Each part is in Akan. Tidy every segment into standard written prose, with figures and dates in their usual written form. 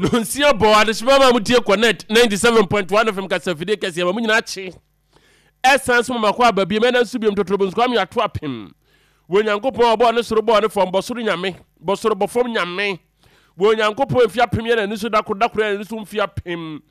Nonsia bɔ adehyema ma motie Connect 97.1 FM kasafidie kɛseɛ ma mo nyinaa kye. Ɛsan so ma makɔ aba biom ɛna nso biom totorobonso kwame ato apem. Wɔ Nyankopɔn a ɔbɔɔ ne soro bɔɔ ne fam bɔ soro nyame bɔ soro bɔ fam nyame. Wɔ Onyankopɔn mfe apem yɛ n'ani so da koro, da koro yɛ n'ani so mfe apem.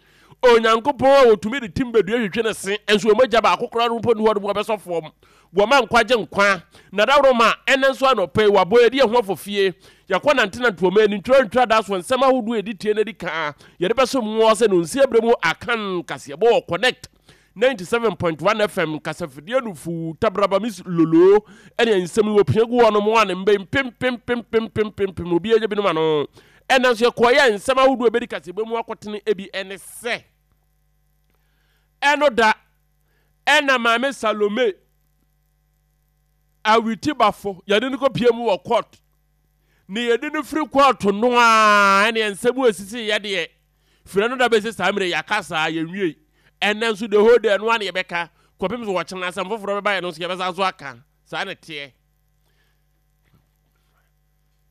Onyankopɔn a otumi de tim bedua hwehwɛ ne se, nso wɔn agya baako koraa no mpo nni hɔ nom wɔbɛsɔ fam. Wɔma nkwagye nkwa. Na dawuroma, ɛnnɛ nso anɔpa yi, wɔabɔ yɛde yɛn ho afɔ fie. Yɛakɔ nantenante wɔ man ani, ntwerɛ nkradaa so nsɛm ahodoɔ a ɛdi tie na ɛdi kan a yɛde bɛsom mo sɛ nonsia berɛ mu Akan kaseɛbɔ wɔ Connect 97.1 FM kasafidie no fuu tabraba miss lolo ɛne nsɛm yi wɔpia gu hɔ nom a ne mba yi mpempempempempempempem obi agye binom ano. Ɛnna nso yɛkɔɔyɛ a nsɛm ahodoɔ ɛbɛdi kaseɛbɔ mu akɔtene ebi ɛne sɛ ɛno da ɛna maame Salome Awitibafo yɛde no kɔpie mu wɔ court ne yɛde no firi court no a ɛne nsɛm ɛsisi yɛdeɛ Firi ɛno da bɛsi saa mmerɛ yi, yɛaka saa, yɛnwiei. Ɛnnɛ nso, the whole day, ɛno ara na yɛbɛka, kɔpem sɛ ɔkyena asɛm foforɔ bɛba yɛn no nso yɛbɛsan so aka. Saa na ɛteɛ.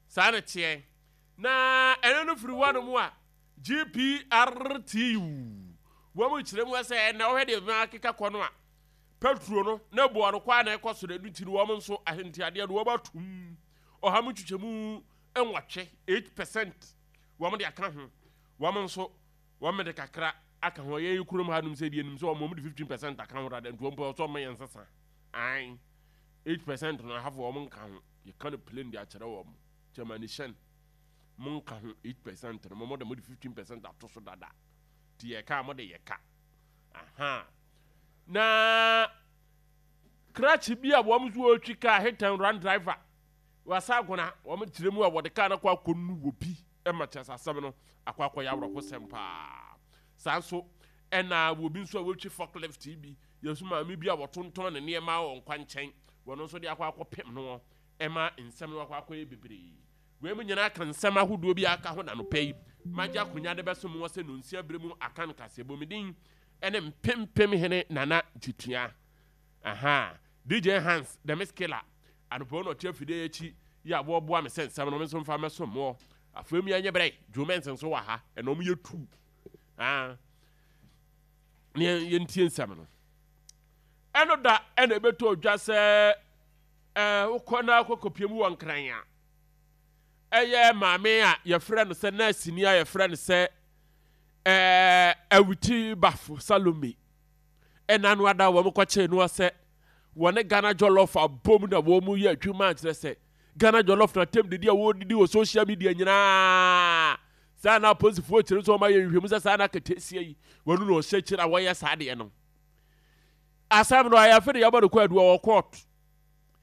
Saa na ɛteɛ. Na ɛno no firi hɔ nom a, GPRTU, wɔn kyerɛ mu sɛ ɛnɛ wohwɛ deɛ bɛma akeka kɔ no a, petro no na boɔ no kɔ a na ɛkɔ soro, ɛno nti no wɔn nso ahentiadeɛ no wɔn atum ɔha mu nkyekyɛmu nwɔtwe, 8%. Wɔn de aka ho. Wɔn nso, wɔn de kakra aka ho. Yɛn kurom ha nom sɛ deɛ nim sɛ wɔn wɔn de 15% aka ho dada nti wɔn pɛ ɔsɔ wɔn yɛn nsesa. Ae, 8% no ahafo wɔn nka ho. Yɛka no plain de akyerɛ wɔn. Kyɛma ne hyɛn. Mo nka ho 8% no, mo de mo de 15% ato so dada. Ti yɛka mo de yɛka. Aha. Na krakye bi a wɔn nso wɔretwi kaa hit and run driver. Wɔasa agona, wɔkyerɛ mu a wɔde kaa no akɔ akɔnu wɔ bi ma kyerɛ sɛ asɛm no akɔ akɔyɛ awerɛhosɛm paa. Saa nso ɛna wɔ bi nso a wɔtwi forklift yi bi, yɛn nso maame bi a wɔtontɔn ne nneɛma wɔ nkwankyɛn, wɔn nso de akɔ akɔpem no ɛma nsɛm no akɔ akɔyɛ bebree. Wei mu nyinaa ka nsɛm ahodoɔ bi a aka ho na anɔpa yi magye akonnwa de bɛsom wɔ sɛ nonsia berɛ mu akan kaseɛbɔ. Me din ne Mpempem Hene Nana Gyetua. Ahaa DJ Hans the Miss Killer anɔpa yi na ɔte afidie yi akyi yi a wɔboa me sɛ nsɛm no me nso mfa mɛso moɔ. Afei mu yɛnyɛ brɛ Joe Benson nso wɔ ha ɛna ɔmo yɛ tu. Ah ne yɛntie nsɛm no. Ɛno da ɛna ɛbɛtɔ odwa sɛ ɛɛ wokɔ na akɔkɔpie mu wɔ Nkran a ɛyɛ maame a yɛfrɛ no sɛ nɛɛseni a yɛfrɛ no sɛ ɛɛ Awiti Bafo Salome. Ɛna no ada wɔn kɔkyee noɔ sɛ wɔne Ghana Jollof abom na wɔn yɛ adwuma kyerɛ sɛ Ghana Jollof na tɛm didi a wɔdidi wɔ social media nyinaa. Saa na apolisifoɔ kyerɛ nso wɔn ayɛ nhwehwɛmu sɛ saa na aketesia yi wɔn na ɔhyɛ kyerɛ a wɔyɛ saa deɛ no. Asɛm no ayɛ afe de yɛbɔ no kɔ adu wɔ court.